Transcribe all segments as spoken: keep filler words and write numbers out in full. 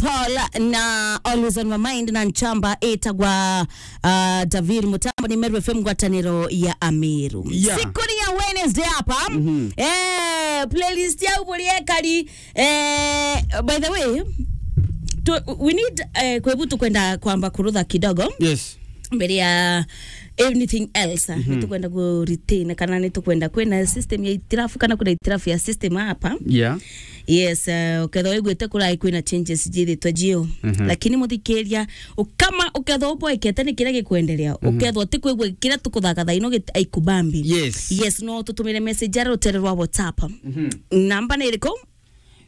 Paul na Always on My Mind na nchamba itagwa, uh, David Mutambo ni Meru F M ngwataniro ya Ameru. Yeah. Siku ni ya Wednesday hapa. Mhm. Eh, playlist ya uburi ekari. Eh, by the way, tu, we need, eh, kwebu tukwenda kwamba kurutha kidogo. Yes. Mbere ya anything else, ah, Mhm. nitukwenda ku retain kana nitukwenda kwina system ya itirafu kana kuna itirafu ya system hapa. Yeah. Yes, eh, ukethwa wiguite kurai kwina changes jithitwe jio. Mhm. Lakini muthikiria, ukama ukethwa uboekete ni kiria gikwenderea, Mhm. ukethwa utikwigua kiria tukuthaka thaino git-, aikubambi. Yes. Yes, no tutumire message ya rutere rwa WhatsApp. Mhm. Namba ni iriku?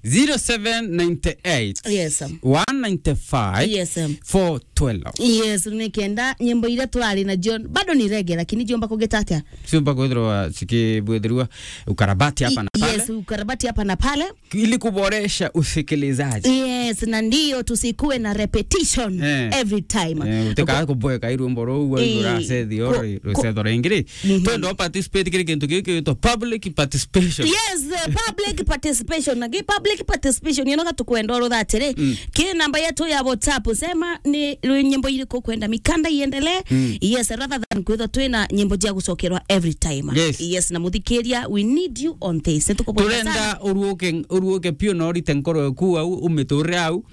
Zero seven nine eight, Yes. one nine five, Yes. four twelve. Yes, ni kenda nyimbo iria turari na John bado ni rege, lakini jomba kugita atia? Siumba kwithirwa cikibwithirwa ukarabati hapa na I-, pale. Yes, ukarabati hapa na pale. Ili kuboresha usikilizaji. Yes, na ndio tusikuwe na repetition Eh. every time. Eh, utikaga kuboeka irwimbo ruu, Eh, uracethio ku-, ri-, ku-, rucetho ringi ri. Mhm. Twenda participate kiri kintu giki gitwa public participation. Yes, eh, public participation. Na gi public participation, you know, tukwenda orotha atiri, Mm. ki namba yetu ya WhatsApp, sema ni rwi-, nyimbo iriku kwenda mikanda iendelee. Mm. Yes, rather than kwithwa twina nyimbo cia gucokerwa every time. Yes. Yes, na muthikiria, we need you on this. Nitukuboya sana. Turenda uruuke, uruuke piu na urite nkoro yaku au, umiturire au.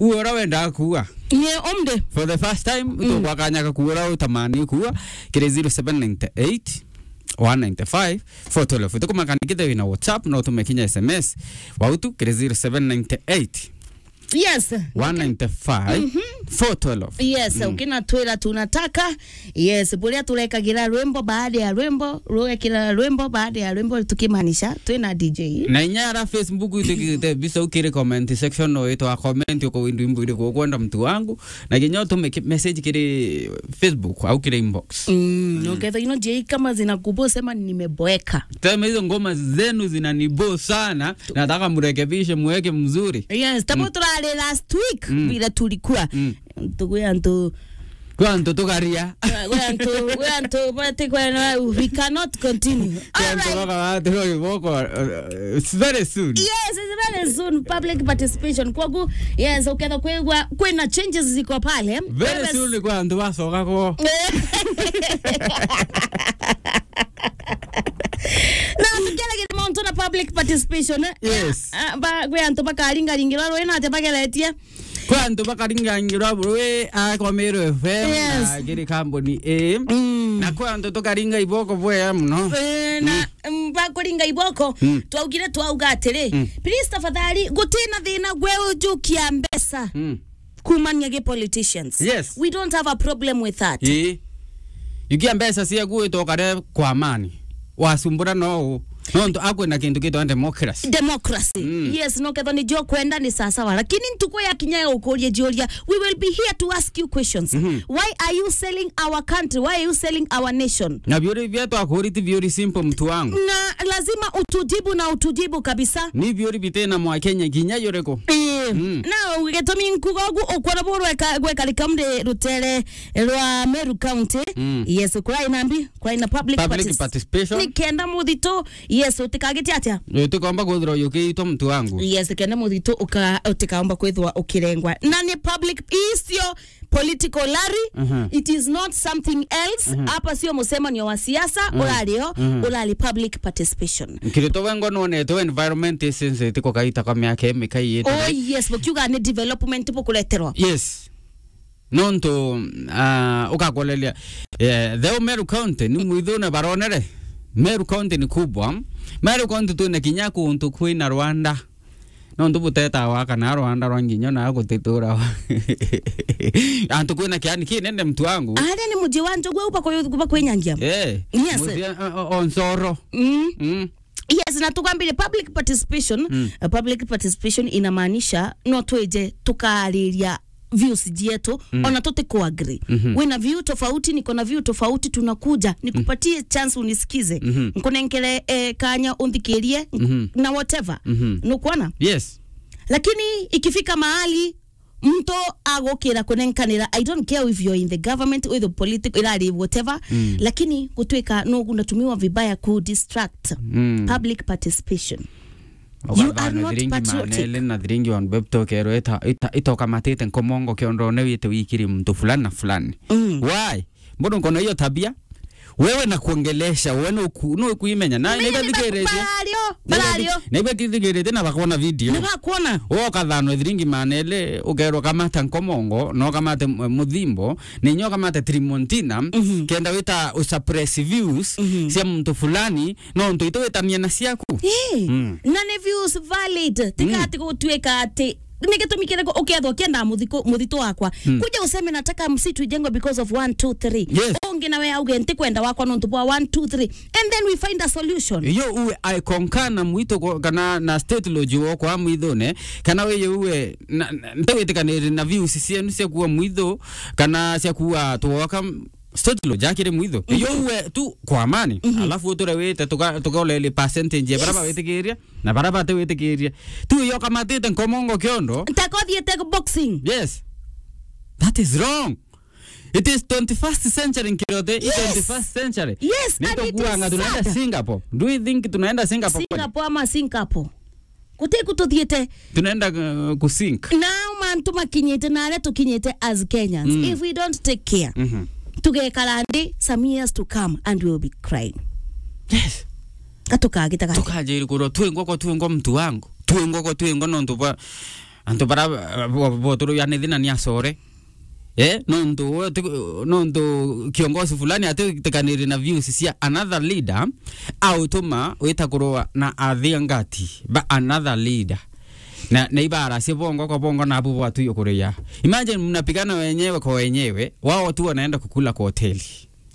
Uura wendaga kuuga. Ni umde. For the first time, Mm. tukwa kanya ga kuura utamani kuuga. Kiri zero seven nine eight, one nine five, four twelve. Tukumaka nikithe wina WhatsApp, no tume kinya S M S. Wautu, kiri zero seven nine eight, Yes. one nine five, four twelve. Yes, Mm. ukinatwira tunataka. Yes, buria turekagira rwimbo baada ya rwimbo, ruekira rwimbo baada ya rwimbo, tukimaanisha twina D J. Na inya ara Facebook itukite bisa ukiri comment section no itwa comment uko windu imbo iri kukwenda mtu wangu. Na kinya utume ki-, message kiri Facebook au kiri inbox. Mm, Mm. uketha ino J kama zinakubo sema nimeboeka. Teme hizo ngoma zenu zinanibo sana, nataka murekebishe, muweke mzuri. Yes, tamo Mm. turari last week Mm. vile tulikuwa. Mm. Tukuya antu Kwa antu tukaria. Kwa antu, kwa antu, but kwa na, we cannot continue. Kwa antu Alright. Baka watu wa iboko, uh, it's very soon. Yes, it's very soon. Public participation. Kwa gu-, yes, uketha kwigwa, kwina changes ziko pale. Very Wewe soon kwa antu bacoka ko. Na tukiaragira mauntu na public participation, eh? Yes. Ah, ba, kwi antu bakaringaringirwa rwi na ati bageretie. Kwi antu bakaringangirwa rwi, ah, kwa Meru F M, Yes. na kiri kambuni ii. Mm. Na kwi antu tukaringa iboko bwea muno. Eh, na, Mm. mm, bakuringa iboko, Mm. twaugire twauga atiri, Mm. please tafadhali, gutina thina gwe ujukia mbeca. Mm. Kumania gi politicians. Yes. We don't have a problem with that. Ii. Jukia mbeca ciaku wite ukare kwa amani. Wasumbura no u. Nontu akwina kintu gitwa democracy. Democracy. Mm. Yes, no ketho ni jo kwenda ni sawa sawa. Lakini ntuku ya kinya ya ukuria jiuria, we will be here to ask you questions. Mhm. Why are you selling our country? Why are you selling our nation? Na biuri bia twakuri ti biuri simple, mtu wangu. Na lazima utujibu na utujibu kabisa. Ni biuri bitina mwa Kenya kinya yuriko. Eh, Mm. na gitumi nkuga ugu ukwona bu rweka-, gwekarika mri rutere rwa Meru County. Mm. Yes, kurai nambi, kurai na public Public partic-, participation. Ni kenda muthito, yes, utikagite atia? Utikomba kwithirwa yukiitwa, mtu wangu. Yes, kenda muthito uka-, utikaomba kwithirwa ukirengwa. Na ni public, icio political rally, Mhm. it is not something else. Mhm. Hapa sio mucemanio wa siasa, Mhm. urario, Mhm. urari public participation. Nkirito wengwa nonete environment is sensitive kwa kaita kwa miaka imi kaiyite. Oh, yes, bukiuga ni development bukureterwa. Yes. Nontu, ah, ukakoleria, eh, the Meru County, ni mwithune baronere. Meru County ni kubwa. Meru County twina kinya kuntu kwina Rwanda. Nontu buteta wa kana Rwanda rwa nginya na gutitura wa. Antu kwina kiani kinene, mtu wangu. Aria ni muji wa njogu au bakoyo-, bakwenyangia. Eh. Yes. Muji, o-, o-, o Nsoro. Mm. Mm. Yes, na tukwambire public participation. Mm. Uh, public participation inamaanisha no twije tukariria views jietu, Mm. ona tutikuagree. Mhm. Wina view tofauti, niko na view tofauti, tunakuja, nikupatie chance unisikize. Mhm. Nkunenkere, eh, kanya unthikirie, nk-, Mhm. na whatever. Mhm. Nukwona? Yes. Lakini ikifika mahali mtu agukira kunenkanira, I don't care if you're in the government, with the political, irari whatever, Mm. lakini gutwika no unatumiwa vibaya ku distract Mm. public participation. You are not patriotic. Thiringi one bebto kero ita, ita, itokamatite nkomongo kiondo ne wite wikiri mtu fulani na fulani. Mm. Why? Mbona uko na hiyo tabia? Wewe na kuongelesha, wewe no ku-, no kuimenya. Na, na ibe thikirite. Barario, barario. Na ibe thikirite na bakona video. Na bakona. Woka thano thiringi manele, ukerwa kamata nkomongo, no kamate m-, muthimbo, ni nyo kamate trimontina, mhm, kenda wita usuppress views, mhm, cia muntu fulani, no ntu itwitania na ciaku. Ii. Mm. Na ni views valid. Tika, mm, ati gutuika ati ni gitumi kiriku ukethwa ukienda muthiko-, muthito wakwa? Mm. Kuja useme nataka msitu ijengwe because of one, two, three. Yes. Ungi nawe auge ntikwenda wakwa nontu bwa one, two, three. And then we find a solution. Iyo uwe I concur na mwito ko-, kana na state lodge wo kwa mwithone, kana weye uwe na, na, ntawitikaniri na views cienu cia kuwa mwitho, kana cia kuwa twoka state lodge akiri mwitho. Mhm. Iyo uwe tu kwa amani. Mhm. Alafu uture wite tuka-, tukaolele percentage ya, yes, bara bawitikiria na bara batiwitikiria. Tu iyo kamatite nkomongo kiondo. Ntakothiete boxing. Yes. That is wrong. It is twenty-first century, Nkirote. Yes. Twenty-first century. Yes, and it is sad. Nitukuanga tunaenda Singapore. Do you think tunaenda Singapore kweli? Singapore ama Singapore? Guti ku tuthiite. Tunaenda, uh, ku sink. Nao mantu makinyite na aria tukinyite as Kenyans. Mm. If we don't take care, mhm, tugekara nthi some years to come and we will be crying. Yes. Gatukagita gati. Tukajiri kurwa twingwa kwa twingwa mtu wangu. Twingwa kwa twingwa nontu bwa antu bara, uh, bo, bo turu yani thina ni acore. Eh, nontu we ti-, nontu kiongozi fulani atitikaniri na views cia another leader, autuma wita kurwa na athiangati ba another leader. Na, na ibara cia bongo kwa bongo na abu bwatuyo kuria. Imagine mnapigana wenyewe kwa wenyewe, wao tu wanaenda kukula kwa hoteli.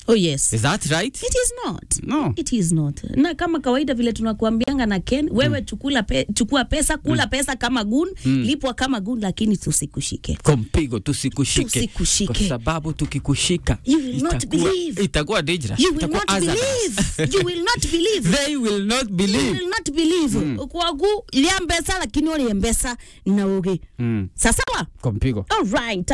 Oh, yes. Is that right? It is not. No. It is not. Na kama kawaida vile tunakuambianga na Ken, wewe, mm, chukula pe-, chukua pesa, kula, mm, pesa kama goon, mm, lipwa kama goon, lakini tusikushike. Kwa mpigo, tusikushike. Tusikushike. Kwa sababu tukikushika, you will not, itakuwa, believe, itakuwa dangerous. You will, itakuwa, not, hazardous, believe. You will not believe. They will not believe. You will not believe. Mm. Kwagu, lia mbesa, lakini ulie mbesa na ugi. Mm. Sasawa? Kwa mpigo. All right.